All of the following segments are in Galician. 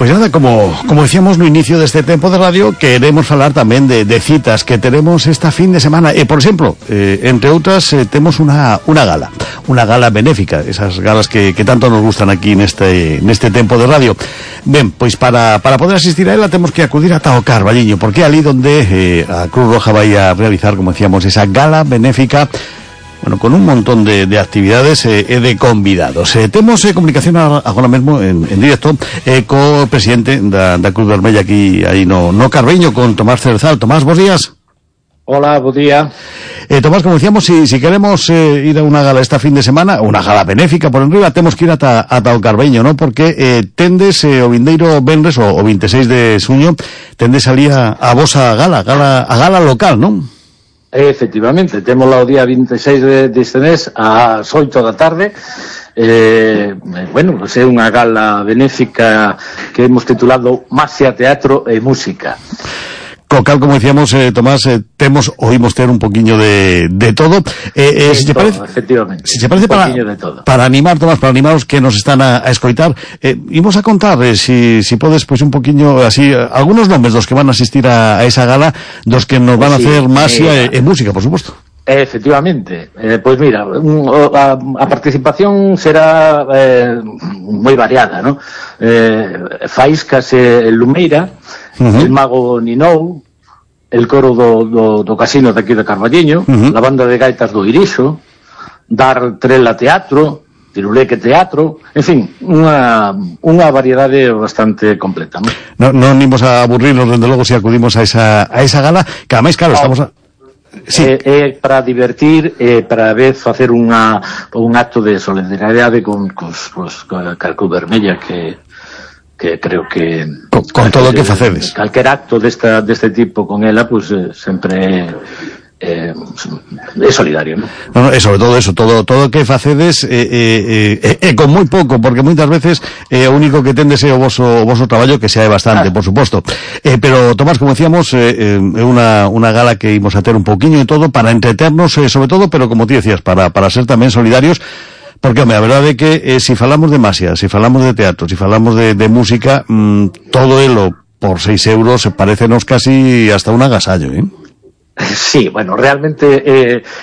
Pois nada, como decíamos no inicio deste tempo de radio, queremos falar tamén de citas que teremos esta fin de semana. Por exemplo, entre outras, temos unha gala benéfica, esas galas que tanto nos gustan aquí neste tempo de radio. Ben, pois para poder asistir a ela temos que acudir ata o Carballiño, porque é ali donde a Cruz Roja vai a realizar, como decíamos, esa gala benéfica, bueno, con un montón de actividades e de convidados. Temos comunicación agora mesmo en directo co presidente da Cruz Vermella aquí aí no Carballiño, con Tomás Cerezal. Tomás, bons días. Hola, bo día. Tomás, como decíamos, si queremos ir a unha gala esta fin de semana, unha gala benéfica por enriba, temos que ir ata o Carballiño, ¿no? Porque tendes o vindeiro venres, o 26 de xuño, tendes ali a vosa gala local, non? Efectivamente, temos o día 26 deste mes ás 8 da tarde. Bueno, pues é unha gala benéfica que hemos titulado Masia, Teatro e Música. Co cal, como decíamos, Tomás, oímos ter un poquinho de todo. Si te parece, efectivamente, si te parece, para animar, Tomás, para animar os que nos están a escoitar, imos a contar, si podes, pois un poquinho así, algunos nomes dos que van a asistir a esa gala, dos que nos van a hacer Masia e música, por suposto. Efectivamente, pois mira, a participación será moi variada, ¿no? Faíscas e Lumeira, el Mago Ninou, el coro do casino de aquí de Carballiño, la banda de gaitas do Irixo, Dar Trela Teatro, Tiruleque Teatro, en fin, unha variedade bastante completa, ¿no? Non imos a aburrirnos, dende logo, se acudimos a esa gala, que ademais, claro, estamos sí. Para divertir, para a vez facer un acto de solidaridade con Cruz Vermella, que creo que con todo o que facedes, calquer acto deste tipo con ela, pues sempre é solidario, ¿no? No, e sobre todo eso, todo o que facedes con moi pouco, porque moitas veces o único que tendes é o voso traballo, que xa é bastante, por suposto. Pero, Tomás, como decíamos, é unha gala que imos a ter un pouquiño de todo para entreternos, sobre todo, pero como ti decías, para ser tamén solidarios. Porque, home, a verdade é que si falamos de Masia, si falamos de teatro, si falamos de música, todo elo por 6 euros parécenos casi hasta un agasallo, ¿eh? Sí, bueno, realmente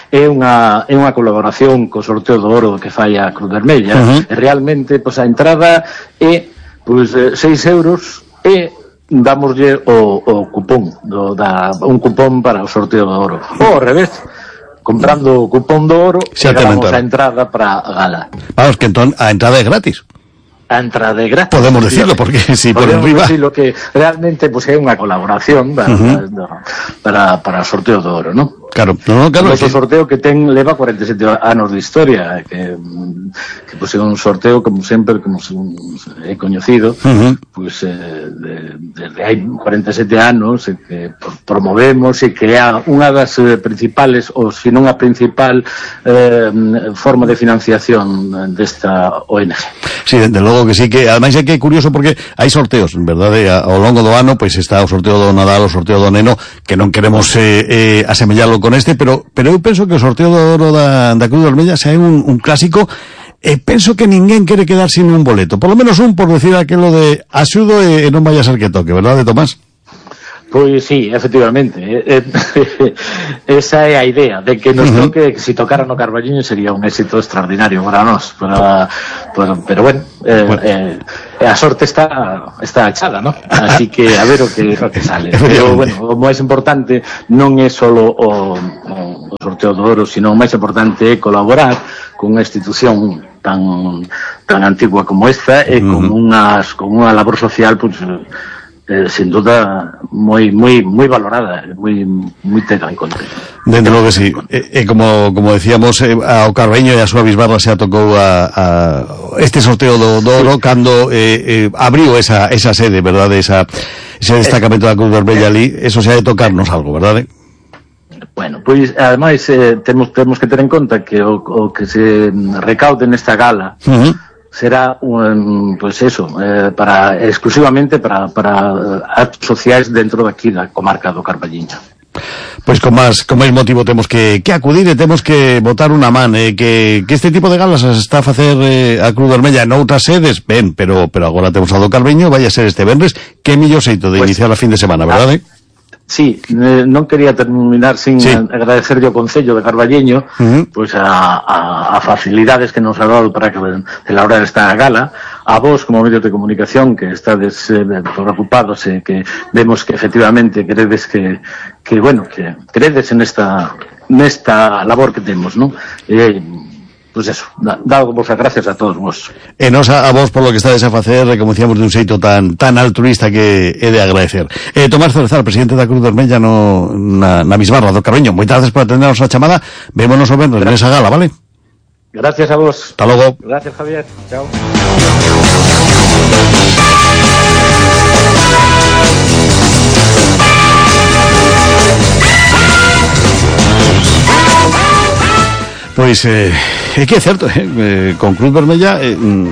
é unha colaboración co sorteo do oro que fai a Cruz Vermella. Realmente, pois, a entrada é 6 euros e damoslle o cupón, un cupón para o sorteo do oro. Ou ao revés, comprando o cupón do oro, damos a entrada para a gala. Vamos, que entón a entrada é gratis. A entrada é gratis. Podemos decirlo, porque si por enriba... Podemos decirlo que realmente pues, é unha colaboración para o sorteo do oro, ¿no? Claro, claro. O sorteo que leva 47 anos de historia, que pues, é un sorteo, como sempre, como é coñecido, pues, desde hai 47 anos, que promovemos e que é unha das principales, ou se non a principal forma de financiación desta ONG. Sí, desde logo que sí, que ademais é que é curioso porque hai sorteos, en verdade, ao longo do ano, pois está o sorteo do Nadal, o sorteo do Neno, que non queremos asemellalo con pero eu penso que o sorteo do oro da Cruz Vermella xa é un clásico, e penso que ninguén quere quedar sin un boleto, por lo menos un, por decir aquilo de axudo e non vaya a ser que toque, verdade, Tomás? Pois sí, efectivamente, esa é a idea de que nos toque, que si tocara no Carballiño sería un éxito extraordinario para nós, pero bueno, a sorte está echada, ¿no? Así que a ver o que sale. Pero bueno, o máis importante non é solo o sorteo do oro, sino o máis importante é colaborar con unha institución tan antigua como esta e con unha labor social, pues, sin duda moi valorada, moi tega en conta. Dentro logo que sí. Como decíamos, ao Carballiño e a súa bisbarra xa tocou este sorteo do oro cando abriu esa sede, verdade, ese destacamento da Cruz Vermella ali, eso xa de tocarnos algo, verdade? Bueno, pois, ademais, temos que ter en conta que o que se recaude nesta gala será pues eso, exclusivamente para actos sociais dentro daqui da comarca do Carballiño. Pois con máis motivo temos que acudir e temos que botar unha man, que este tipo de galas as está a facer a Cruz Vermella noutras sedes, ben, pero agora temos a do Carbeño, vai a ser este venres, que mellor xeito de iniciar a fin de semana, verdade? Sí, non quería terminar sin agradecerlle ao Concello de Carballiño pois a facilidades que nos ha dado para que celebrar esta gala, a vos como medios de comunicación que estades preocupados e que vemos que efectivamente credes que credes en nesta labor que temos, non? Pois eso, dado vos as gracias a todos vos. E nos a vos por lo que estades a facer, como decíamos, de un xeito tan altruista que é de agradecer. Tomás Cerezal, presidente da Cruz Vermella na Bisbarra do Carbeño, moitas gracias por atendernos a chamada. Vémonos o venres nesa gala, vale? Gracias a vos. Hasta logo. Gracias, Javier. Chao. Pois é que é certo, con Cruz Vermella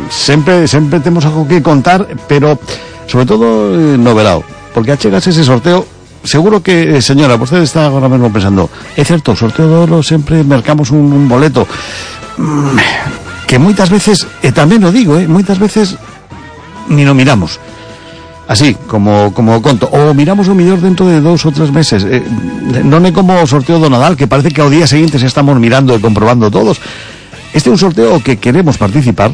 sempre temos algo que contar, pero sobre todo no verao, porque achegas ese sorteo. Seguro que, señora, vostede está agora mesmo pensando, é certo, o sorteo de oro sempre mercamos un boleto que moitas veces, e tamén o digo, moitas veces ni no miramos así, como conto, ou miramos o millor dentro de 2 ou 3 meses. Non é como o sorteo do Nadal, que parece que ao día seguinte se estamos mirando e comprobando todos. Este é un sorteo que queremos participar,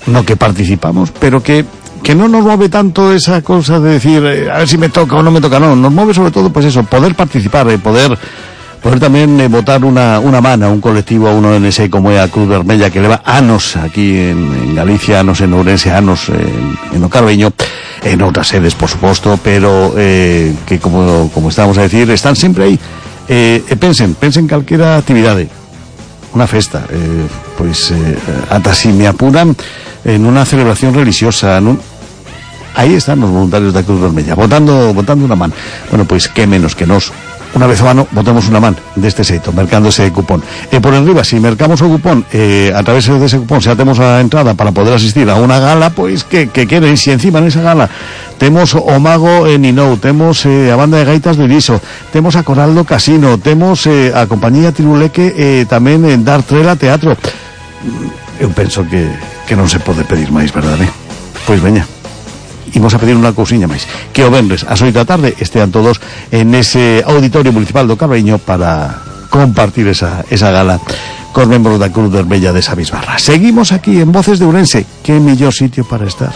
no que participamos, pero que non nos move tanto esa cosa de decir a ver si me toca ou non me toca, non, nos move sobre todo, pues eso, poder participar e poder tamén botar unha man a un colectivo, a un ONG como é a Cruz Vermella, que leva anos aquí en Galicia, anos en Ourense, anos en o Carbeño, en outras sedes, por suposto, pero que como estábamos a decir, están sempre aí. Pensen calquera actividade, unha festa, ata si me apuran en unha celebración religiosa, aí están os voluntarios da Cruz Vermella, botando unha man. Bueno, pois que menos que nos unha vez ao ano botemos unha man deste xeito, mercando ese cupón. E por enriba, se mercamos o cupón, a través dese cupón xa temos a entrada para poder asistir a unha gala, pois que queren, se encima nesa gala temos o Mago Ninou, temos a banda de gaitas do Iriso, temos a Coral do Casino, temos a compañía Tiruleque, tamén en Dar Trela Teatro. Eu penso que non se pode pedir máis, verdade? Pois veña, imos a pedir unha cousiña máis, que o venres ás 8 da tarde estean todos en ese auditorio municipal do Carbeño para compartir esa gala cos membros da Cruz Vermella desa Bisbarra. Seguimos aquí en Voces de Ourense, que mellor sitio para estar.